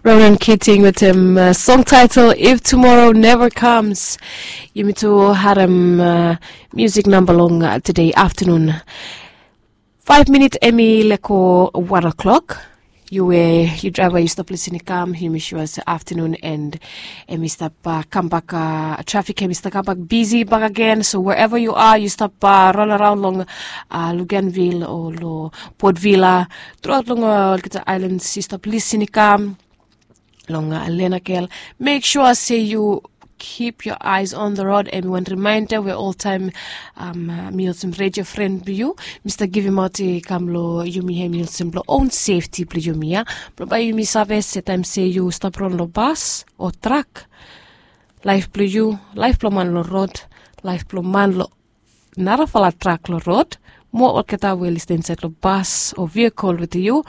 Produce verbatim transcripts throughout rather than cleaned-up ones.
Ronan Keating wetem song title If Tomorrow Never Comes. Yumi tu harem musik namba long today aftanun. Faif minit em i leko wan o'klok. Yu we yu draiva yu stap lisin i kam, yumi sua se aftanun and em i stap kambak, trafik em i stap kambak bisi bak agen. So wherever yu a, yu stap ran araon long Luganville o long Port Vila, truaot long olgeta ailans yu stap lisin i kam long Lenakel. Mek sua se yu keep your eyes on the road. Em i wan rimainda we oltaem mi olsem redio fren blong yu, mi stap givimaot i kam long yumi, em i olsem blong own sefti blong yumi ya. Blong bae yumi save se taem se yu stap ran long bas o trak, laef blong yu, laef blong man long rod, laef blong man long narafala trak long rod, mo olgeta we i stap insaed long bas o vehikel wetem yu,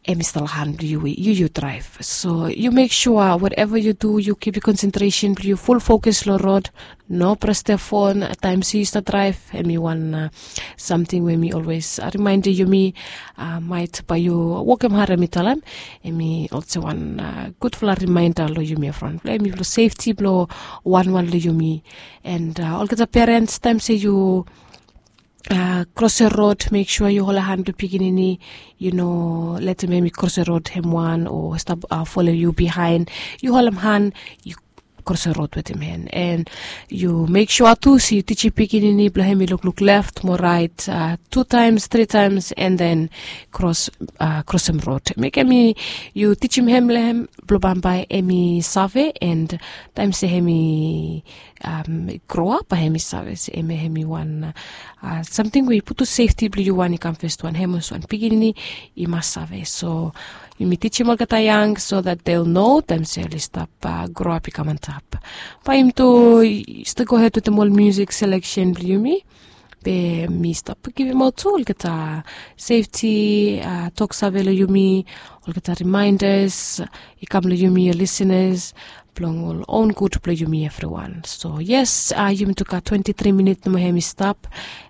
em i stap long han blong yu we yu yu draef. So yu mek sua whatever yu du, yu kip yu konsentresen blong yu ful fokus long rod. No pres de fon taem se yu stap draef. Em i wan samting we mi olwes rimaendim yumi. Maet bae yu wokem had, em i talem, em i olsem wan gudfala rimaenda long yumi ya from blong em i blong sefti blong wanwan long yumi. And olgeta perens, taem se yu krosim rod, mek sua yu holem han blong pikinini. Yu no letem hem i krosim rod hem wan o stap folem yu bihaen. Yu holem han, yu krosim rod wetem hem. And yu mek sua tu se yu tijim pikinini blong hem i lukluk left mo raet tu taems, tri taems, and then krosim rod. Mekem yu tijim hem long hem blong bambae hem i save, and taem se hem i groap bae hem i save se hem i wan samting we i putum sefti blong yu wan i kam fes wan, hem olsem wan pikinini i mas save. So yumi tijim olgeta yang so that they'll know taem se oli stap groap i kam antap. Bae yumi tu stap gohed wetem ol musik seleksen blong yumi. Be mi stap givimaot tu olgeta sefti toksave long yumi, olgeta rimaendas i kam long yumi, ol lisenas, blong ol own gud blong yumi evriwan. So yes, yumi tu gat twenti tri minit nomo hem i stap.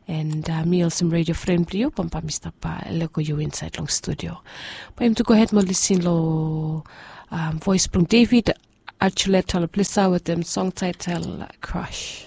And mi olsem redio fren blong yu, bambae mi stap lego yu insaed long studio. Bae yumi tu gohed mo lisin long voes blong David Archuleta Loplisa wetem song taetel Crush.